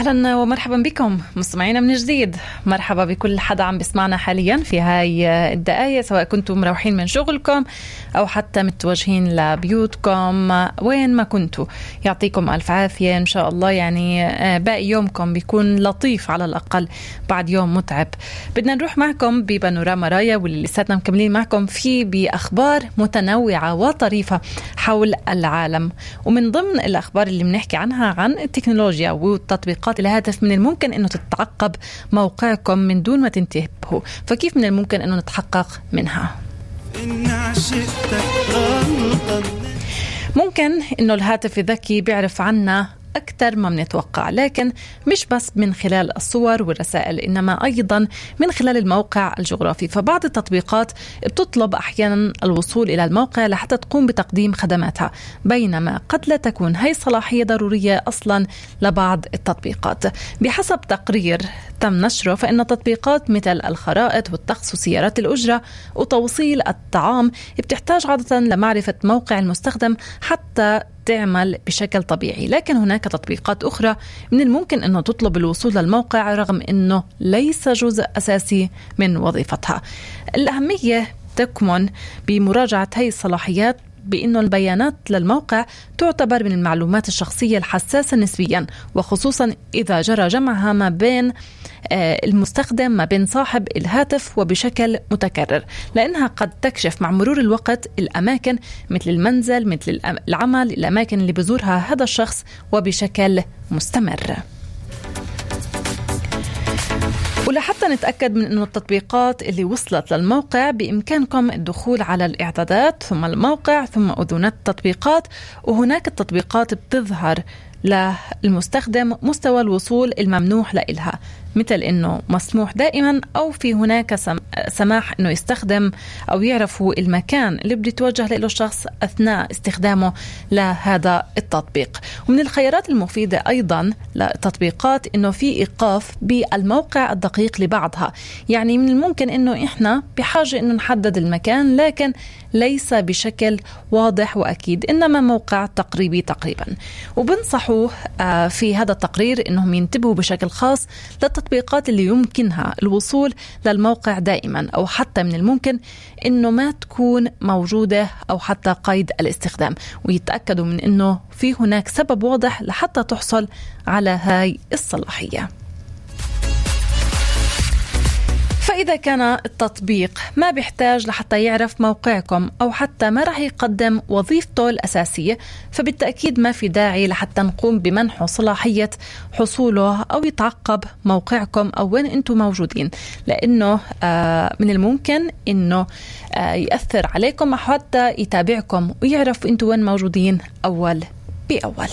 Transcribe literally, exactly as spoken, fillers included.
أهلا ومرحبا بكم مستمعينا من جديد. مرحبا بكل حدا عم بسمعنا حاليا في هاي الدقايق، سواء كنتم مروحين من شغلكم أو حتى متوجهين لبيوتكم، وين ما كنتوا يعطيكم ألف عافية إن شاء الله. يعني باقي يومكم بيكون لطيف على الأقل بعد يوم متعب. بدنا نروح معكم ببانوراما رايا، واللي لساتنا مكملين معكم فيه بأخبار متنوعة وطريفة حول العالم. ومن ضمن الأخبار اللي بنحكي عنها عن التكنولوجيا والتطبيقات الهاتف، من الممكن أنه تتعقب موقعكم من دون ما تنتبهوا، فكيف من الممكن أنه نتحقق منها؟ ممكن أنه الهاتف الذكي بيعرف عنا أكثر ما بنتوقع، لكن مش بس من خلال الصور والرسائل، إنما أيضا من خلال الموقع الجغرافي. فبعض التطبيقات بتطلب أحيانا الوصول إلى الموقع لحتى تقوم بتقديم خدماتها، بينما قد لا تكون هي صلاحية ضرورية أصلا لبعض التطبيقات. بحسب تقرير تم نشره، فإن تطبيقات مثل الخرائط والطقس وسيارات الأجرة وتوصيل الطعام بتحتاج عادة لمعرفة موقع المستخدم حتى تعمل بشكل طبيعي، لكن هناك تطبيقات أخرى من الممكن أنه تطلب الوصول للموقع رغم أنه ليس جزء أساسي من وظيفتها. الأهمية تكمن بمراجعة هذه الصلاحيات، بأنه البيانات للموقع تعتبر من المعلومات الشخصية الحساسة نسبيا، وخصوصا إذا جرى جمعها ما بين المستخدم ما بين صاحب الهاتف وبشكل متكرر، لأنها قد تكشف مع مرور الوقت الأماكن مثل المنزل، مثل العمل، الأماكن اللي بزورها هذا الشخص وبشكل مستمر. ولحتى نتأكد من أن التطبيقات اللي وصلت للموقع، بإمكانكم الدخول على الإعدادات ثم الموقع ثم أذونات التطبيقات، وهناك التطبيقات بتظهر للمستخدم مستوى الوصول الممنوح لإلها، مثل إنه مسموح دائما أو في هناك سماح إنه يستخدم أو يعرفوا المكان اللي بده يتوجه له الشخص أثناء استخدامه لهذا التطبيق. ومن الخيارات المفيدة أيضا للتطبيقات إنه في إيقاف بالموقع الدقيق لبعضها، يعني من الممكن إنه إحنا بحاجة إنه نحدد المكان، لكن ليس بشكل واضح وأكيد، إنما موقع تقريبي تقريبا. وبنصحوا في هذا التقرير إنهم ينتبهوا بشكل خاص للتطبيقات اللي يمكنها الوصول للموقع دائما، أو حتى من الممكن إنه ما تكون موجودة أو حتى قيد الاستخدام، ويتأكدوا من إنه في هناك سبب واضح لحتى تحصل على هاي الصلاحية. فإذا كان التطبيق ما بيحتاج لحتى يعرف موقعكم أو حتى ما رح يقدم وظيفته الأساسية، فبالتأكيد ما في داعي لحتى نقوم بمنحه صلاحية حصوله أو يتعقب موقعكم أو وين أنتم موجودين، لأنه آه من الممكن أنه آه يأثر عليكم أو حتى يتابعكم ويعرف أنتم وين موجودين أول بأول.